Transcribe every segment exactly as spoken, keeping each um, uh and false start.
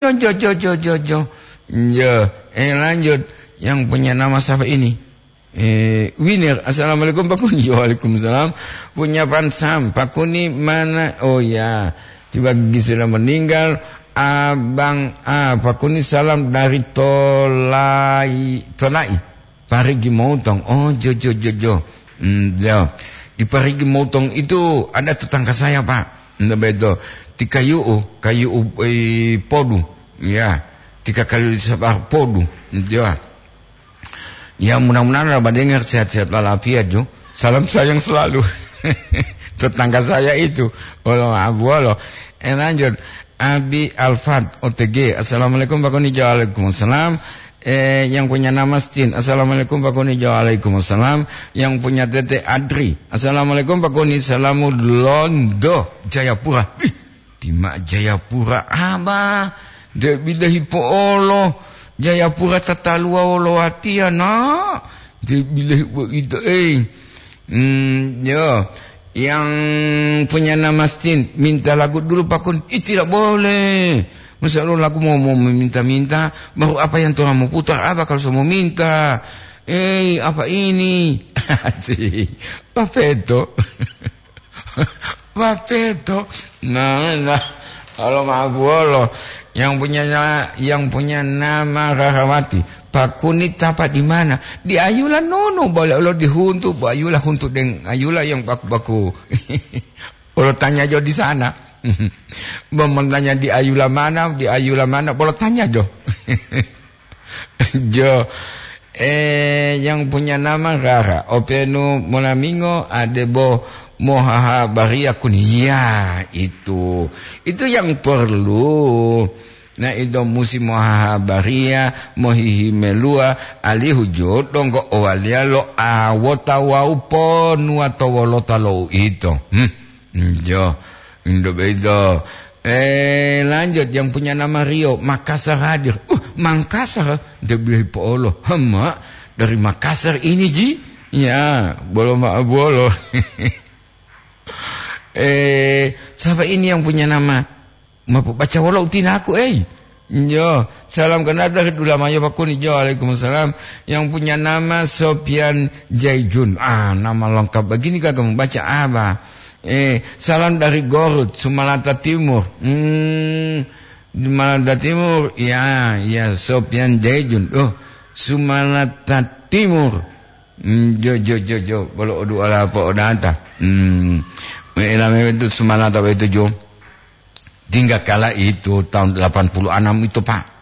Jo, jo, jo, jo, jo, jo. Ya, eh, lanjut. Yang punya nama siapa ini? Eh, Winner. Assalamualaikum, Pak Kuni. Waalaikumsalam. Punya Pansam. Pak Kuni mana? Oh ya. Tiba Gigi sudah meninggal. Abang, ah, Pak Kuni salam dari Tolai, Tolai. Parigi Motong. Oh, jo, jo, jo, jo. Hmm, jo. Di Parigi Motong itu ada tetangga saya, Pak. Nda beto. Ti kayu'u, kayu'u, eh, podu. Ya. Tika kali sabar podu. Ya. Ya, mudah-mudahan lah badengar sehat-sehat walafiat, jo. Salam sayang selalu. Tetangga saya itu. Olo abuolo. Eh, lanjut. Abi Alfat O T G. Assalamualaikum, Pak Kuni. Waalaikumsalam. Eh, yang punya nama Stin. Assalamualaikum, Pak Kuni. Waalaikumsalam. Yang punya Tete Adri. Assalamualaikum, Pak Kuni. Salamu Londo, Jayapura. Ih, tima Jayapura, Abah. Nde bilahi po'olo. Jayapura tataluwa wolo watiya, nak. Nde bilahi bo'ito, eh. Hmm, yo. Yang punya nama Stin, minta lagu dulu, Pak Kuni. Ih, tidak boleh. Masa lo lagu mau, mau meminta-minta, baru apa yang Tuhan mau putar, apa kalau saya mau minta? Eh, apa ini? Asik. Pak Feto. Pak Feto. Nah, nah. Kalau maaf bolo. Yang punya na-, yang punya nama Rahawati. Pak Kuni tapa di mana? Di Ayula nono, boleh lo dihuntu, Bu Ayula huntu deng Ayula yang baku-baku. Bolo tanya jo di sana. Bo, mau tanya di Ayula mana, di Ayula mana, bolo tanya jo. Jo, eh, yang punya nama Rara, openu molamingo adebo mohahabariya Kuni. Ya, itu. Itu yang perlu. Nah, ito musi mohahabariya, mohihimeluwa, alihu jo donggo owaliya lo awota wawu ponuwa to wolota lo uito. Hmm. Jo, indo bedo. Eh, lanjut, yang punya nama Rio, Makassar hadir. Uh, Mangkasar, dia bilang po'olo. Hema, dari Makassar ini, Ji? Ya, bolo ma-, bolo. Eh, siapa ini yang punya nama? Mapu baca wolo utinaku, eh. Jo, salam kenal dari Dulamayo Pak Kuni. Jo, waalaikumsalam. Yang punya nama Sopian Jaijun. Ah, nama lengkap begini kagak membaca apa? Eh, salam dari Gorut, Sumalata Timur. Hmm, Sumalata Timur. Ya, ya, Sopian Jaijun. Oh, Sumalata Timur. Hmm, jo, jo, jo, jo. Bolo odu ala apa odanta. Hmm, me-, elame itu Sumalata itu, jo. Tinggal kala itu tahun delapan puluh enam itu, Pak.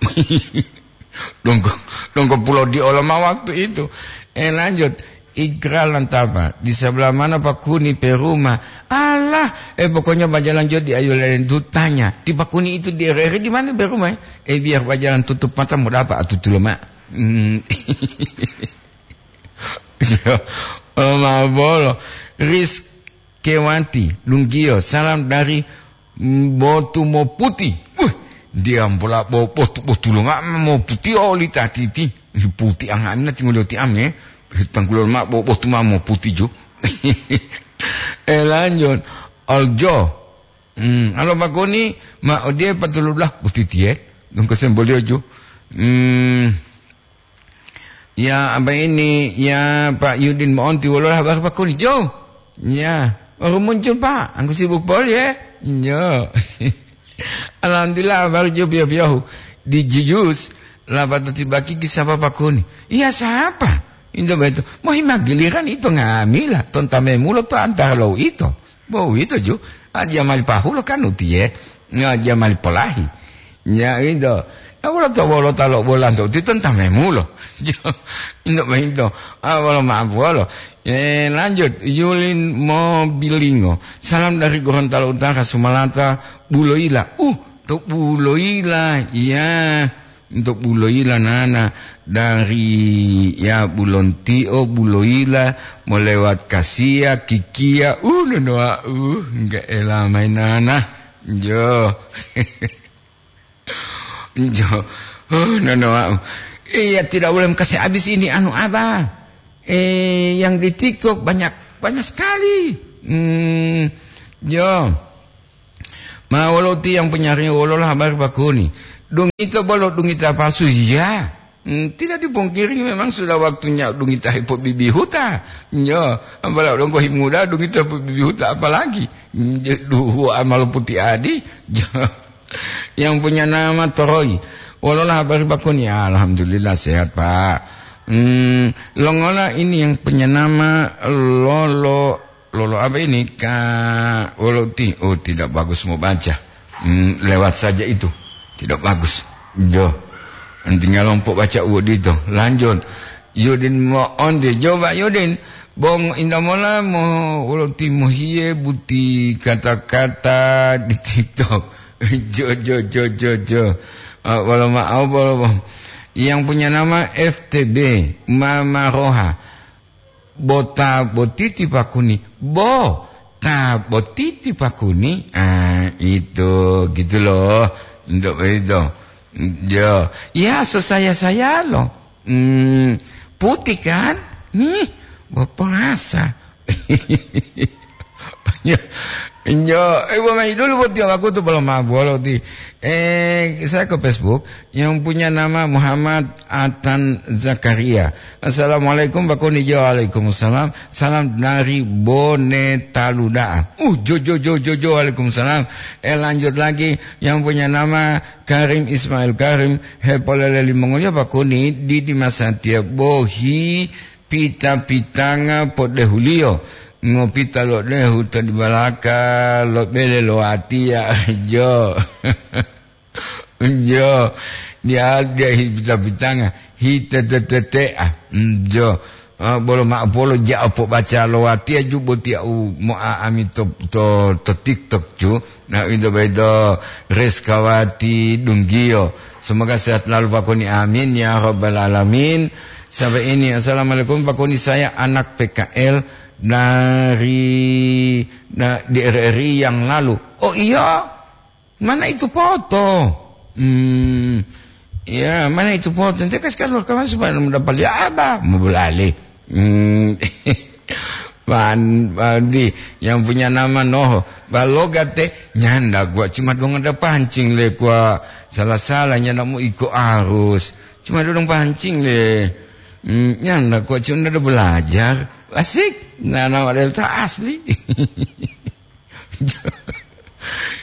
Dongko, dongko pulau di Oloma waktu itu. Eh, lanjut. Iqra Lantapa, di sebelah mana Pak Kuni pe rumah? Alah, eh, pokoknya bajalan jo di Ayu Lelen tu tanya. Ti Pak Kuni itu di R R I di mana pe rumah, eh? Eh, biar bajalan tutup mata mau dapat atutu lemak. Hmm. Oloma bolo. Ris Kewati, Lunggiyo, salam dari, mm, Botu Moputi. Wah, diambola bo-, botu, botu lo ma moputi oli tatiti. Puti anga'amina tingoli oti ame. Tanggulo ma bo-, botu ma moputi ju. Eh, lanjut. Aljo. Hmm, alo Pak Kuni, ma odiye patuludah butitiye. Dongko sembolio ju. Hmm. Ya, apa ini? Ya, Pak Yudin mo'onti wolo habari Pak Kuni, Jo? Ya, baru muncul, Pak. Angku sibuk poli, ya? Jo. Alhamdulillah, baru jo piyo-piyohu. Di Jiyus, lapatao tibakiki sapa Pak Kuni. Iya, sapa? Into beto. Mohima giliran ito ngamila, tonta memulo to antara lo ito. Bo uwito ju, a, jamali pahulo kan utiye, nga jamali polahi. Nya ito, a, wolo to wolota lo bolanto uti tonta memulo. Jo, ino boyito, a, wolo ma'apuwolo. Eh, lanjut, Yulin Mobilingo. Salam dari Gorontalo Utara, Sumalata, Buloila. Uh, to Buloila. Iya. Untuk Buloila nana, dari ya Bulontio, Buloila, molewat Kasia, Kikia, uh, nonoa, uh, enggak ela main nana. Jo. Jo. Oh, nonoa. Iya, tidak boleh kasih habis ini anu Abah. Eh, yang di TikTok banyak, banyak sekali. Hmm, jo. Ma wolo ti yang penyari wolo lah habari Pak Kuni. Dungita bolo dungita palsu, iya. Hmm, tidak dipungkiri memang sudah waktunya dungita hepobibihuta. Nyo, apalagi donggo himuda dungita hepobibihuta apalagi. Hmm, duhu amalo putih adi. Yang punya nama Toroi. Wolola habari bakuni? Alhamdulillah sehat, Pak. Hmm, longola ini yang punya nama Lolo, Lolo apa ini? Ka, Lolo ti, oh, tidak bagus mau baca. Hmm, lewat saja itu. Tidak bagus. Jo. Tinggal lompok baca uwodito. Lanjut. Yudin mo onde. Coba Yudin. Bong indamola mo Lolo ti mohiye buti kata-kata di TikTok. Jo, jo, jo, jo, jo. Ah, wala maaf, wala maaf. Yang punya nama F T B, Mama Roha. Bo ta boti ti pakuni. Bo ta boti ti pakuni. Ah, itu gitu loh. Untuk itu. Ya, ya, sesaya-saya loh. Hmm, putih kan? Nih, berperasa. Nyo, nyo, eh, buat main dulu buat dia, aku tuh belum mabuk, kalau di, eh, saya ke Facebook yang punya nama Muhammad Atan Zakaria. "Assalamualaikum, Pak Koni." Jo, waalaikumsalam. "Salam dari Bone Taluda." Uh, jo, jo, jo, jo, jo, waalaikumsalam. Eh, lanjut lagi, yang punya nama Karim Ismail Karim, hepolele limongoliyo Pak Koni, di, di Masatiya bohi pita-pitanga podehuliyo, ngopita lo dehu to dibalaka lo bele lo watiya. Jo. Jo. Dia, dia hita pitanga, hita tetetea. Jo. Ah, bolo ma-, bolo ja opo baca lo watiya ju botiya u mo aami to, to, to TikTok ju. Na ito boyito Reskawati Dunggiyo. Semoga sehat selalu Pak Koni. Amin ya rabbal alamin. Sampai ini, "Assalamualaikum Pak Koni, saya anak P K L dari, da-, di R R I yang lalu." Oh iya, mana itu foto? Hmm, ya, mana itu foto? Nanti kasih keluar kamar supaya mudah beli apa? Mau beli. Hmm. Pan, pandi yang punya nama Noho. Baloga te nyanda gua cuma dong ada pancing le gua salah-salah nyanda mau iko arus. Cuma dong pancing le. Hmm, nyanda gua cuma ada belajar. Asik. Nah, nama delta asli.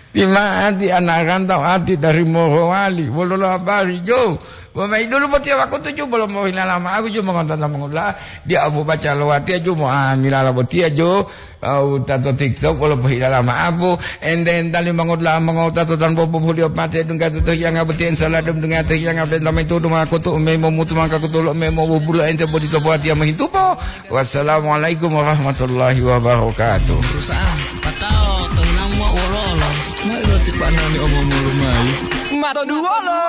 Di ma ati anak rantau ati dari Morowali, wolo lo habari, jo. Bo mayi dulu botiya wakutu, jo, bolo mohilala ma'apu, jo, mongotata mongotala. Dia apu baca lo watiya, jo, mo amilala botiya, jo. Au tato TikTok, bolo pohilala ma'apu. Ente entali mongotala mongotata tanpa populiyo pate dungga toto hiyanga botiya, insya Allah dum dungga to hiyanga benta mayi tutu ma'akutu, ume momutu mangka kutulo, ume mobubulo ente bodi to buatiya mohintupo. Wassalamualaikum warahmatullahi wabarakatuh. Perusahaan. Patao, tenang, Wak, wololo. Mai roti Pak Nani omong-omong lumai. Mato duwolo.